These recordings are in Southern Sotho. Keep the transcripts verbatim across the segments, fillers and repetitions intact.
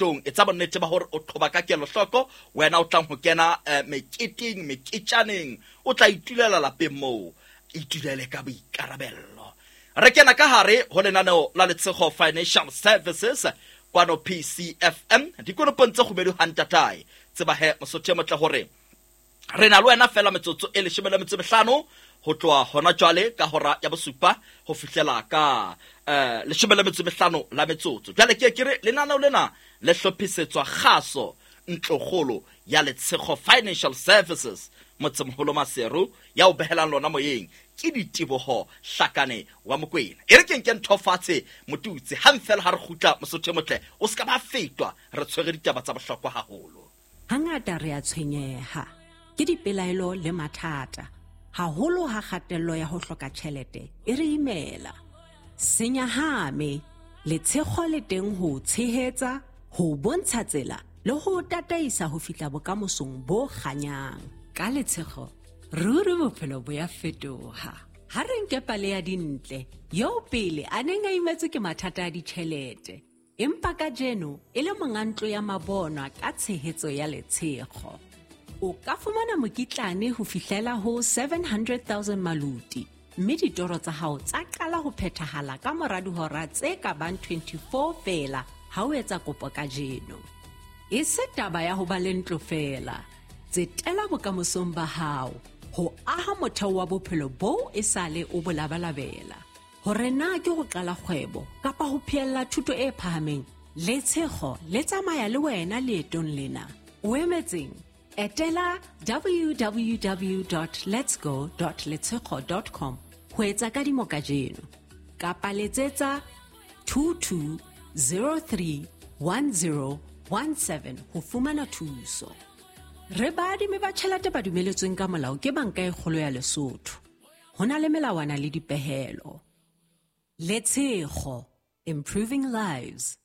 Tong etsa bonnete ba hore o qhoba ka kelohloko. Wena o tlang ho kena eh, meketeng, meketjaneng, o tla itulela lapeng moo, itulele ka boikarabello. Re kena ka hare ho lenaneo la Letshego Financial Services kwano P C F M, dikonopong tse kgubedu hantatae. Tseba he, Mosotho e motle, hore re na le wena fela metsotso e leshome le metso e mehlano ho tloha hona jwale ka hora ya bosupa ho fihlela ka eh, leshome le metso e mehlano la metsotso. Jwale ke ke re lenaneo lena le hlophisetswa kgaso ntlokgolo ya Letshego Financial Services, motsemoholo Maseru. Ya o behelang lona moyeng ke Diteboho Hlakane wa Mokwena. E re ke nke ntho fatshe motutsi hang fela ha re kgutla. Mosotho e motle, o se ka ba fetwa, re tshwere ditaba tsa bohlokwa haholo. Hangata re a tshwenyeha ke dipelaelo le mathata, haholo ha kgatello ya ho hloka tjhelete e re imela. Se nyahame, Letshego le teng ho o tshehetsa, ho o bontsha tsela le ho o tataisa ho fihla bokamosong bo kganyang. Ka Letshego, ruri bophelo bo ya fetoha. Ha re nke pale ya Dintle, eo pele a neng a imetswe ke mathata a ditjhelete, empa kajeno e le monga ntlo ya mabonwa ka tshehetso ya Letshego. O ka fumana mokitlane ho fihlela ho seven hundred thousand maluti, mme ditoro tsa hao tsa qala ho phethahala ka mora dihora tse ka bang twenty-four feela ha o etsa kopo kajeno. E se taba ya ho ba le ntlo feela. Tsetela bokamosong ba hao ho aha motheo wa bophelo boo e sale o bo labalabela. Hore na ke ho qala kgwebo kapa ho phehella thuto e phahameng, Letshego le tsamaya le wena leetong lena. O emetseng? Etela w w w dot letsgo dot letshego dot com ho etsa kadimo kajeno kapa letsetsa two two zero three one zero one seven ho fumana thuso. Re baadimi ba tjhelete ba dumeletsweng ka molao ke Banka e Kgolo ya Lesotho. Ho na le melawana le dipehelo. Letshego, improving lives.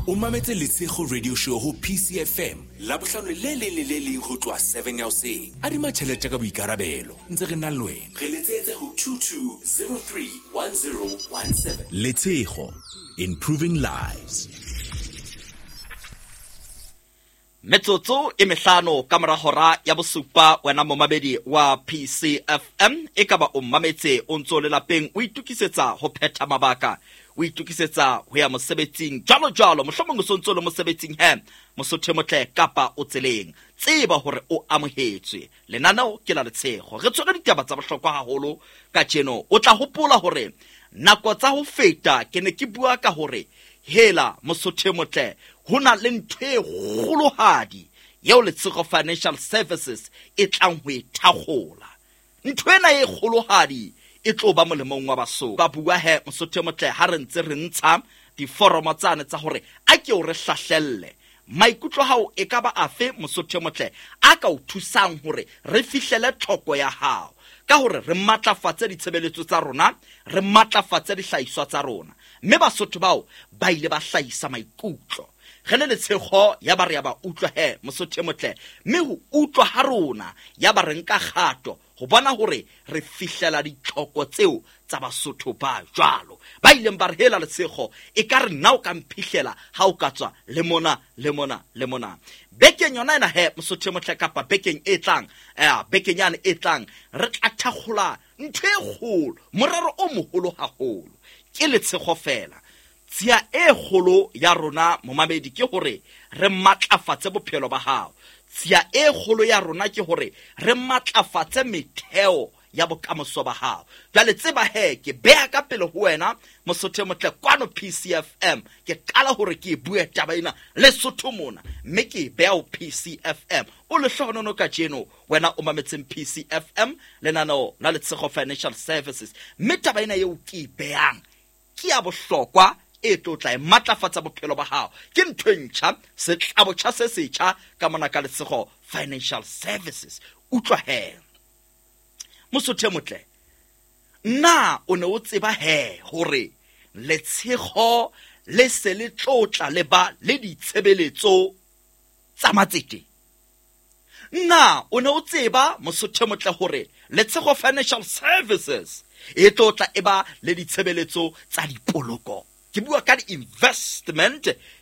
O mametse Letshego Radio Show ho P C F M, Labohlano le leng le le leng ho tloha seven ya hoseng. Adima tjhelete ka boikarabelo, ntse re na le wena. Re letsetse ho two two zero three one zero one seven. Letshego, improving lives. Metsotso e mehlano ka mora hora ya bosupa. Wena momamedi wa P C F M, e ka ba o mmametse o ntso le lapeng, o itokisetsa ho phetha mabaka, o itokisetsa ho ya mosebetsing, jwalo jwalo. Mohlomong o so ntso le mosebetsing he, Mosotho e motle, kapa o tseleng. Tseba hore o amohetswe. Lenaneo ke la Letshego. Re tshwere ditaba tsa bohlokwa haholo kajeno. O tla hopola hore nako tsa ho feta ke ne ke bua ka hore hela, Mosotho e motle, ho na le ntho e kgolohadi eo Letshego Financial Services e tlang ho e thakgola. Ntho ena e kgolohadi e tlo ba molemong wa Basotho. Ba bua he, Mosotho e motle, ha re ntse re ntsha diforomo tsane tsa hore a ke o re hlahlelle maikutlo hao e ka ba afe, Mosotho e motle, a ka o thusang hore re fihlele tlhoko ya hao ka hore re matlafatse ditshebeletso tsa rona, re matlafatse dihlahiswa tsa rona. Mme Basotho bao ba ile ba hlahisa maikutlo, re le Letshego ya ba re ya ba utlwa he, Mosotho e motle. Mme ho utlwa ha rona ya ba re nka kgato ho bona hore re fihlela ditlhoko tseo tsa Basotho ba jwalo ba ileng ba re hela Letshego, e ka re nna o ka mphihlela ha o ka tswa le mona le mona le mona bekeng yona ena he, Mosotho e motle, kapa bekeng e tlang, eh, bekeng yane e tlang re tla thakgola ntho e kgolo, morero o moholo haholo. Ke Letshego fela. Tsia e kgolo ya rona, momamedi, ke hore re matlafatse bophelo ba hao. Tsia e kgolo ya rona ke hore re matlafatse metheo ya bokamoso ba hao. Jwale tseba he, ke beha ka pele ho wena, Mosotho e motle, kwano P C F M. Ke qala hore ke e bue taba ena Lesotho mona, mme ke e beha ho P C F M. O lehlohonono kajeno wena o mametseng P C F M, lenaneo la Letshego Financial Services. Mme taba ena eo ke e behang ke ya bohlokwa e tlo tla e matlafatsa bophelo ba hao. Ke ntho e ntjha, setlabotjha se setjha ka mona ka Letshego Financial Services. Utlwa he, Mosotho e motle, na o ne o tseba he hore Letshego le se le tlotla le ba le ditshebeletso tsa matsete? Na o ne o tseba, Mosotho e motle, hore Letshego Financial Services e tlotla e ba le ditshebeletso tsa dipoloko? Ke bua ka di-investment.